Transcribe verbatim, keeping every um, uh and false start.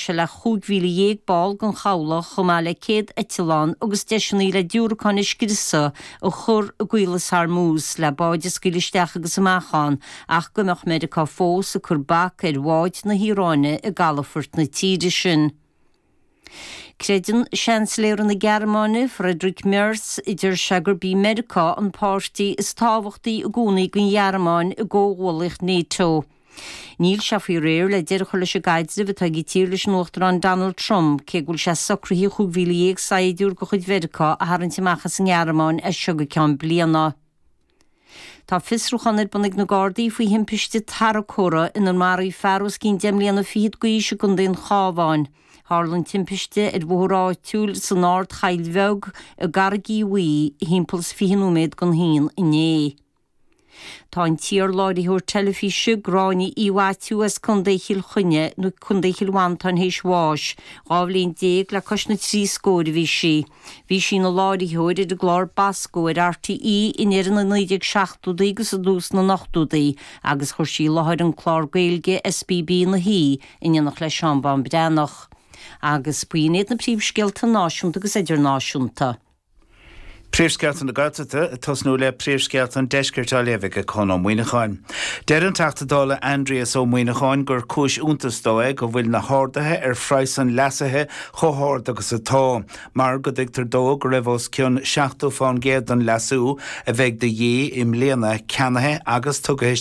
sé le chúig mhíle dhéag ball den chabhlach chomh maith le céad eitleán agus deiseanna le diúracáin a scriosadh a chur i gCaolas Hormuz le báid a scaoileadh isteach agus amach ann ach go mbeadh Meiriceá fós ag cur bac ar bháid na hIaráine i gcalafort na tíre sin. Creideann Seansailéir na Gearmáine Friedrich Merz a deir sé gurb í Meiriceá an páirtí is tábhachtaí i gcónaí don Ghearmáin i gcomhghuallaíocht NATO. Níl sé faoi réir le deireadh a chur leis an gcaidreamh atá ag an tír leis an Uachtarán Donald Trump cé go bhfuil sé socraithe chúig mhíle dhéag saighdiúir de chuid Mheiriceá a tharraingt amach as an nGearmáin as seo go ceann bliana. Tá fiosrúchán ar bun ag na Gardaí faoi thimpiste tarracóra inar maraíodh fear os cionn deich mbliana fichead d'aois i gContae an Chabháin. Tharla an timpiste ar bhóthar áitiúil san Ardchoill Bheag i gCarraig Uí Bhuí thimpeall is fiche nóiméad don haon inné. Tá an t-iar-láithreoir teilifíse Gráinne Uí Mhaitiú as Contae Chill Chainnigh nó Contae Chill Mhantáin théis bháis, dhá bhliain déag le cois na trí scóir a bhí sí. Bhí sí ina láithreoir ar an gclár Bosco ar RTÉ i ndeireadh na naoi déag seachtóidí agus i dtús na n-ochtóidí agus chuir sí i láthair an clár Gaeilge SBB ina shuí in éineacht le Seán Bán Breathnach. Agus b'in iad na príomhscéalta náisiúnta agus idirnáisiúnta. Príomhscéalta na Gaeltachta tosnú le príomhscéalta an deiscirt á léamh ag Conn Ó Muíneacháin. Deir an Teachta Dála Aindrias Ó Muíneacháin gur cúis iontais dó é go bhfuil na harduithe ar phraghas an leasaithe chomh hard agus atá, mar go dtuigtear dó go raibh os cionn seachtó faoin gcéad den leasú a bheidh de dhíth i mbliana ceannaithe agus tugtha